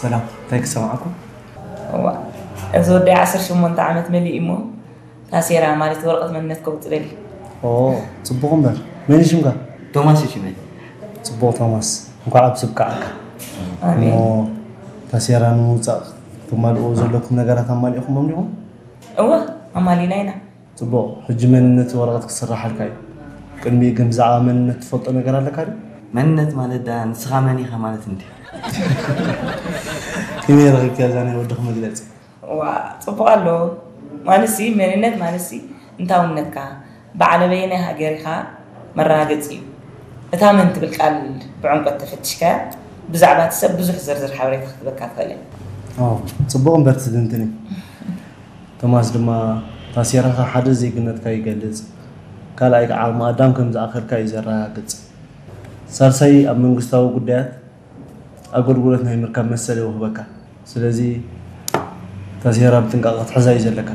ሰላም፣ እንታይ ክሰማዕኩም? እዋ፣ እዚ ወዲ ዓሰርተ ሸሞንተ ዓመት መሊኡ እሞ ታሴራ ማለት ወረቐት መንነት ከውፅእ ደሊ። ኦ፣ ፅቡቕ እምበር። መን እዩ ሽምካ? ቶማስ እዩ ሽመይ። ፅቡቕ ቶማስ፣ እንኳዕ ኣብ ስብቃዕካ። እሞ ታሴራ ንምውፃእ ትማልእዎ ዘለኩም ነገራት ኣማሊእኹሞም ዲኹም? እወ፣ ኣማሊና ኢና። ፅቡቕ፣ ሕጂ መንነት ወረቐት ክስራሓልካ እዩ። ቅድሚኡ ግን ብዛዕባ መንነት ትፈልጦ ነገር ኣለካ ድዩ? መንነት ማለት ዳ ንስኻ መን ኢኻ ማለት እንዲ። ከመይ ረኺብካያ እዛ ናይ ወድኺ መግለፂ? ዋ፣ ፅቡቕ ኣሎ። ማለትሲ መንነት ማለትሲ እንታውነትካ፣ በዓል ኣበየናይ ሃገር ኢኻ መረጋገፂ እዩ። እታ መን ትብል ቃል ብዕምቆት ተፈቲሽካያ ብዛዕባ እቲ ሰብ ብዙሕ ዝርዝር ሓበሬታ ክትበካ ትኽእል እያ። ኦ፣ ፅቡቕ እምበር ትዝንትን እዩ። ቶማስ ድማ ታሴራኻ ሓደ ዜግነትካ ይገልፅ፣ ካልኣይ ከዓ ዓቕሚ ኣዳም ከም ዝኣኸልካ እዩ ዘረጋግፅ። ሳልሳይ ኣብ መንግስታዊ ጉዳያት ኣገልግሎት ናይ ምርካብ መሰል ይውህበካ። ስለዚ ታሴራ ብጥንቃቐ ክትሕዛ እዩ ዘለካ።